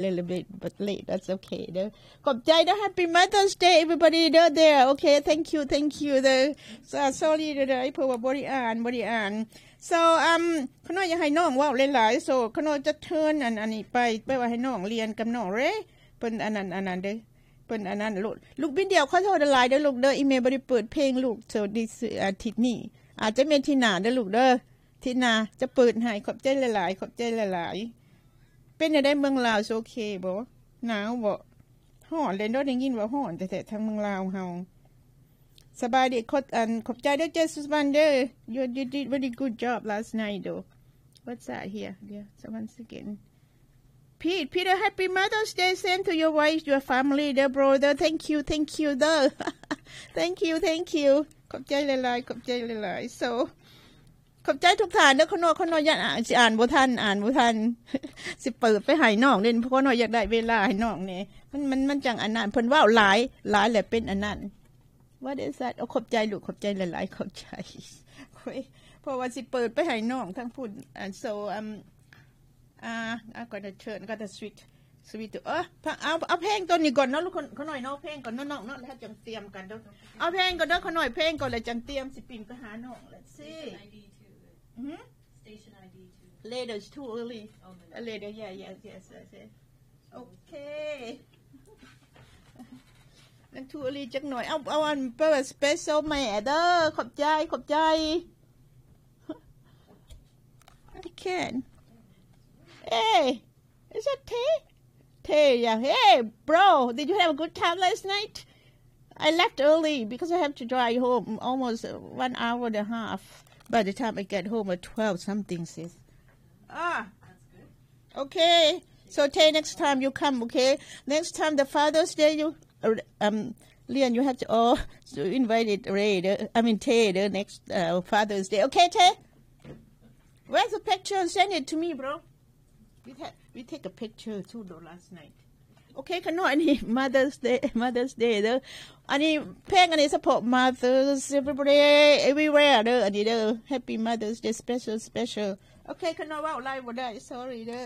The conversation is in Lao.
little bit but late, that's okay ເດີ. ຂອບໃຈເດີ. Happy Mother's Day everybody ເດີ there. Okay, thank you, thank you ເດີ. So, sorry ເດີ ເດີ ເພາະວ່າບໍ່ໄດ້ອ່ານ ບໍ່ໄດ້ອ່ານ. So, um ຂະນ້ອຍຢາກໃຫ້ນ້ອງເວົ້າຫຼາຍໆ so ຂະນ້ອຍຈະເຊີນອັນ ອັນນີ້ໄປ ແປວ່າໃຫ້ນ້ອງລຽນກັບນ້ອງເຣ ເພິ່ນອັນນັ້ນ ອັນນັ້ນເດີ ເພິ່ນອັນນັ້ນ. ລູກບິນດຽວ ຂໍໂທດຫຼາຍໆເດີລູກເດີ ອີເມລບໍ່ໄດ້ເປີດເພງລູກ so this ອາທິດນີ້ ອາດຈະແມ່ນທິດໜ້າເດີລູກເດີ. ທິດໜ້າຈະເປີດໃຫ້. ຂອບໃຈຫຼາຍໆ ຂອບໃຈຫຼາຍໆ. ເປັນແນວໃດເມືອງລາວ ໂອເຄບໍ່? ໜາວບໍ່? ຮ້ອນເລີຍເນາະ ໄດ້ຍິນວ່າຮ້ອນແທ້ໆ ທາງເມືອງລາວເຮົາ. ສະບາຍດີ ຂອບ ອັນ ຂອບໃຈເດີ ເຈສຸວັນເດີ you, you did very good job last night though. What's that here? Yeah, so once again. Pete, Peter, happy Mother's Day. Same to your wife, your family, their brother. Thank you, thank you ເດີ thank you, thank you. ຂອບໃຈຫຼາຍໆ ຂອບໃຈຫຼາຍໆ. So ຂອບໃຈທຸກທ່ານເດີ. ຂະນ້ອຍ ຂະນ້ອຍຢ້ານອ່ານ ຊິອ່ານບໍ່ທັນ ອ່ານບໍ່ທັນ ຊິເປີດໄປໃຫ້ນ້ອງເດ້. ຂະນ້ອຍຢາກໄດ້ເວລາໃຫ້ນ້ອງແດ່ ມັນ ມັນ ມັນຈັ່ງອັນນັ້ນ. ເພິ່ນເວົ້າຫຼາຍ ຫຼາຍແລ້ວເປັນອັນນັ້ນ. What is that? ໂອ້ ຂອບໃຈລູກ ຂອບໃຈຫຼາຍໆ ຂອບໃຈ. ໂອ້ຍ ເພາະວ່າຊິເປີດໄປໃຫ້ນ້ອງທາງພຸ້ນ. And so, um, uh, I'm gonna turn, I'm gonna switch, switch to, ເອີ ເອົາ ເອົາເພງຕົວນີ້ກ່ອນເນາະ ລູກ ຂະນ້ອຍເນາະ ເພງກ່ອນເນາະ ນ້ອງເນາະ ແລ້ວຈັ່ງຕຽມກັນເດີ. ເອົາເພງກ່ອນເດີ ຂະນ້ອຍ ເພງກ່ອນ ແລ້ວຈັ່ງຕຽມ ຊິປິ່ນໄປຫານ້ອງ. Let's see. Station I D too. Hmm? Station I D too. Later, it's too early. Oh, no, no. Uh, later, yeah, yes, yes, yes, yes. Okay. ຍັງ too early ຈັກໜ້ອຍ. ເອົາ ເອົາອັນ special ແມ່ເດີ. ຂອບໃຈ ຂອບໃຈ. I can. Hey, is that Tay? Tay, yeah. Hey, bro, did you have a good time last night? I left early because I have to drive home almost one hour and a half by the time I get home at twelve something, sis. Ah. Okay. So, Tay, next time you come, okay? Next time the Father's Day, you, uh, um, Lian, you have to, oh, so invited Ray, the, I mean, Tay, the next, uh, Father's Day. Okay, Tay? Where's the picture? Send it to me, bro. We, ta- we take a picture too, though, last night. Okay ຂະນ້ອຍ ອັນນີ້ Mother's Day, Mother's Day ເດີ. ອັນນີ້ເພງ ອັນນີ້ສະເພາະ mothers everybody everywhere ເດີ ອັນນີ້ເດີ. Happy Mother's Day special special. Okay ຂະນ້ອຍ ເວົ້າຫຼາຍບໍ່ໄດ້ sorry ເດີ.